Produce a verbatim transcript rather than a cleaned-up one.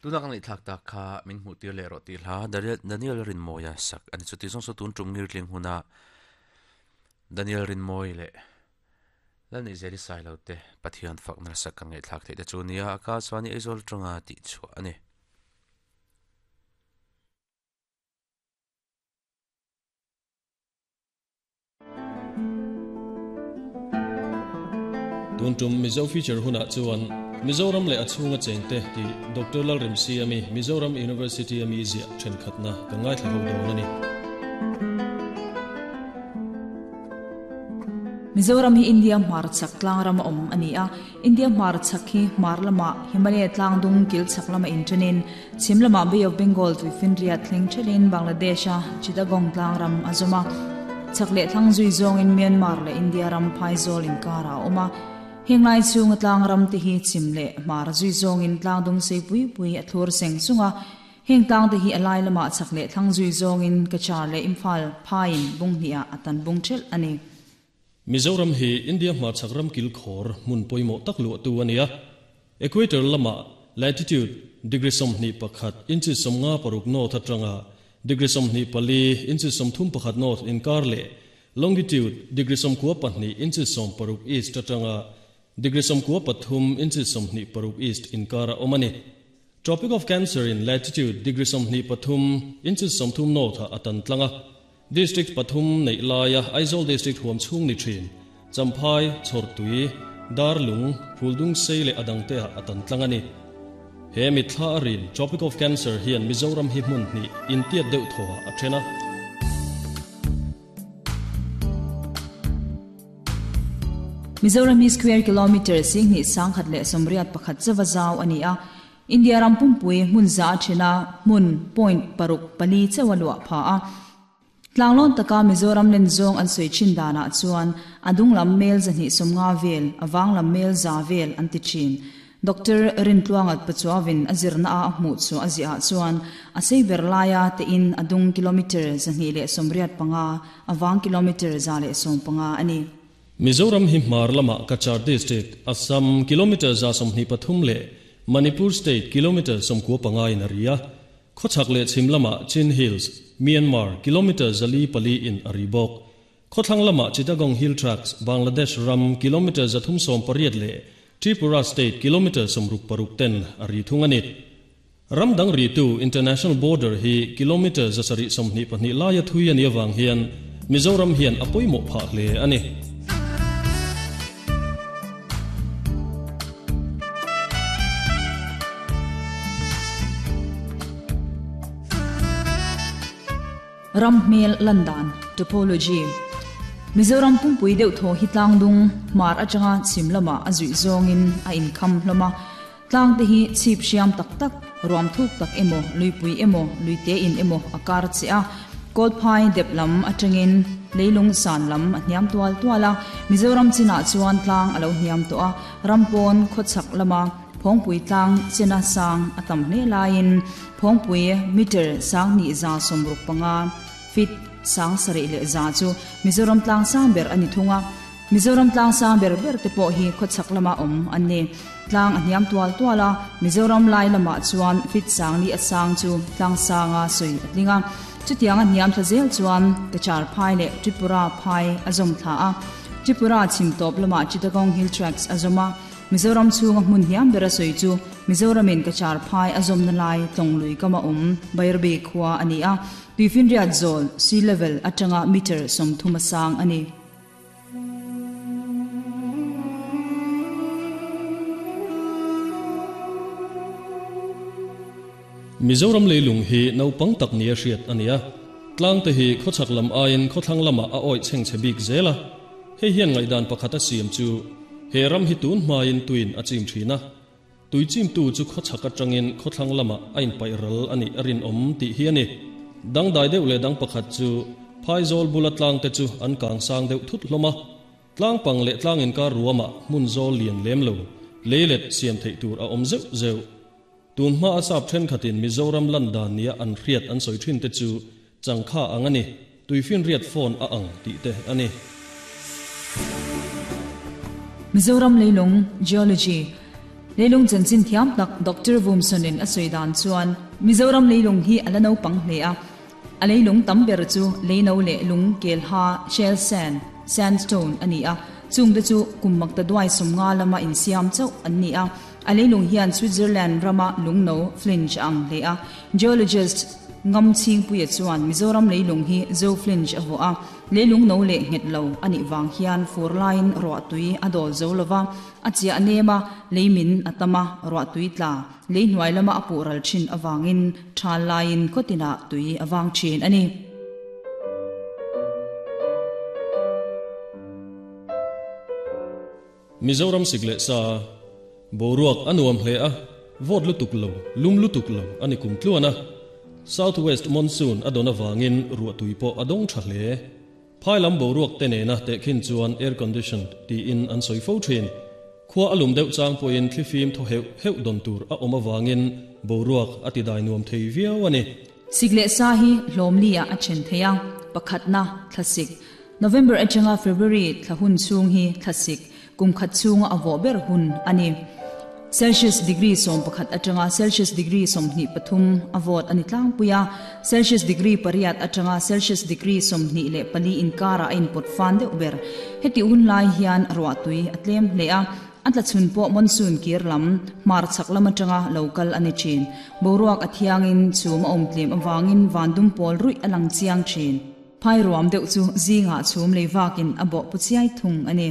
Tuna kang ithlak ta kha min hmu tir le ro ti hla Daniel Rinmawia sak ani chuti zawng saw tun tum ngir tling huna Daniel Rinmawi le Lalni Zeli Sailo te Pathian fakna sak kan ngai thlak thei te chu nia aka chuani Aizawl tanga ti chu ani. Tun tum Mizo feature huna chuan Mizoram le achhunga chengte ti Doctor Lalremsiami Mizoram University ami zia thenkhatna ka ngai thla ho dawn ani. Mizoram hi India hmar chak tlang ram awm ani a. India hmar chak hi hmar lama Himalaya tlang dung kil chak lama inṭanin chhim lama Bay of Bengal tuifinriat thleng thelin Bangladesh a Chittagong tlang ram azawma chak leh thlang zui zawngin Myanmar leh India ram Phaizol inkara a awm a. Henglai chunga tlang ram te hi chim leh hmar zui zawngin tlang dung sei pui pui a thlur seng sunga heng tlang te hi alai lama chak leh thlang zui zawngin Kachar leh Imphal phain bung hnia atan bung thel ani. Mizoram hi India hmar chak ram kil khor mun poimo tak lu tu ania. Equator lama latitude degree somni pakhat inchi somnga paruk north atanga degree somni pali inchi somthum pakhat north inkar le longitude degree somkua pahnih inchi som paruk east atanga degree somkua pathum inchi somni paruk east inkara omani. Tropic of Cancer in latitude degree somni pathum inchi somthum north atan tlanga. District pathum nei laia Aizawl district huam chung ni thin Champhai Chhortui Darlung Phuldung sei le adangte atan tlangani. He mithla arin Tropic of Cancer hian Mizoram hi hmun ni intiat deuh thaw a thena. Mizoram hi square kilometer sing ni sangkhat le somriat pakhat chawa zau ani a. India ram pumpui hmun za thena hmun point paruk pali chawa lua pha a. Tlanglon taka Mizoram len zawng an soi chin dana chuan adung lam mel zahni somnga vel awang lam mel za vel an ti chin. Doctor Rintluangat Pachuawin azirna a hmu chu azia chuan a sei ber laia te in adung kilometer zahni le somriat panga awang kilometer za le som panga ani. Mizoram hi hmar lama Kachar district Assam kilometer za somhni pathum le Manipur state kilometer somkua panga in aria. Khochak le chhim lama Chin Hills Myanmar kilometer zali pali in aribok. Khothlang lama Chittagong Hill Tracts Bangladesh ram kilometer zathum som pariat le Tripura state kilometer somruk paruk ten ari thungani. Ram dang ri tu international border hi kilometer zasari somhni pahnih laia thui ani awang hian Mizoram hian apoimo pha hle ani. Ramhmel Landan topology Mizoram pumpui deuh thaw hi tlang dung hmar atanga chhim lama a zui zawngin a inkham hlawma tlang te hi chhip hriam tak tak ruam thuk tak emaw luipui emaw luite in emaw a kar che a kawlphai dep lam atangin leilung san lam a hniam tual tuala Mizoram chinah chuan tlang alo hniam tawh a rampawn khawchhak lama phawngpui tlang chena sang a tam hle laiin phawngpui meter sang ni za somruk panga fit sang sarih leh za chu Mizoram tlang sang ber ani thunga Mizoram tlang sang ber ber te pawh hi khawchhak lama awm an ni tlang a hniam tual tuala Mizoram lai lama chuan fit sang ni a sang chu tlang sanga sui a tlinga chutiang a hniam thla zel chuan Kachar phai leh Tripura phai a zawm thla a Tripura chhim tawp lama Chittagong Hill Tracts a zawm a Mizoram chhunga hmun hniam bera sawi chu Mizoramin Kachar phai a zawm na lai tlawng lui kama awm Bairbi khua ani a tuifinriat zawl sea level atanga meter sawmthum a sang ani. Mizoram leilung hi naupang tak nia hriat ania tlang te hi khawchhak lam aiin khawthlang lama a awih chheng che bik zela hei hian ngaihdan pakhat a siam chu he ram hi tun hmain tuin a chim thina tui chim tu chu khawchhak atangin khawthlang lama a inpaih ral ani a rin awm tih hi ani. Dang dai deuh leh dang pakhat chu Phaizol bula tlang te chu an kang sang deuh thut hlawma tlang pang leh tlang inkar ruama hmun zawl lian lem lo leilet siam theih tur a awm zeuh zeuh. Tun hma a sap thenkhatin Mizoram landan nia an hriat an sawi thin te chu changkha ang ani tuifin riat phone a ang tih te ani. Mizoram leilung geology Leilung chanchin thiam tak Doctor Vumsonin a sawi dan chuan Mizoram leilung hi a la naupang hle a. A leilung tam ber chu leino leh lung kel ha shell sand, sandstone a ni a. Chung te chu kum makta duai sawm nga lama insiam chauh an ni a. A leilung hian Switzerland rama lungno flinch a ang hle a. Geologist Ngam Chhingpuia chuan Mizoram leilung hi Zo flinch a vuah a. Leilung no leh nghet lo a nih vang hian fur laiin ruah tui a dawl zo lo va, a chiah nem a, lei min a tam a, ruah tui tla lei hnuai lama a puh ral thin avangin thal laiin khawtinah tui a vang thin a ni. Mizoram sik leh sa boruak a nuam hle a, vawt lutuk lo, lum lutuk lo a ni kum tluan a. South West Monsoon a dawn avangin ruah tui pawh a dawng tha hle. Phai lam boruak te nena tehkhin chuan air conditioned tiin an sawi fo thin. Khua a lum deuh chang pawhin thlifim thaw heuh heuh dawn tur a awm avangin boruak a ti dai nuam thei viau a ni. Sik leh sa hi hlawmli ah a then thei a, pakhatna thlasik. November atanga February thla hun chhung hi thlasik kum khat chhunga a vawh ber hun a ni. Celsius degree sawm pakhat atanga Celsius degree sawmhnih pathum a vawt a ni tlangpui a, Celsius degree pariat atanga Celsius degree sawmhnih leh pali inkarah a inpawt fan deuh ber. Heti hun lai hian ruah tui a tlem hle a, a tla chhun pawh monsoon kir lam hmar chhak lam atanga lo kal a ni thin. Boruak a thiangin chhum a awm tlem avangin van dum pawl ruih a lang chiang thin. Phai ruam deuh chu zingah chhum lei vakin a bawh pu chiai thung a ni.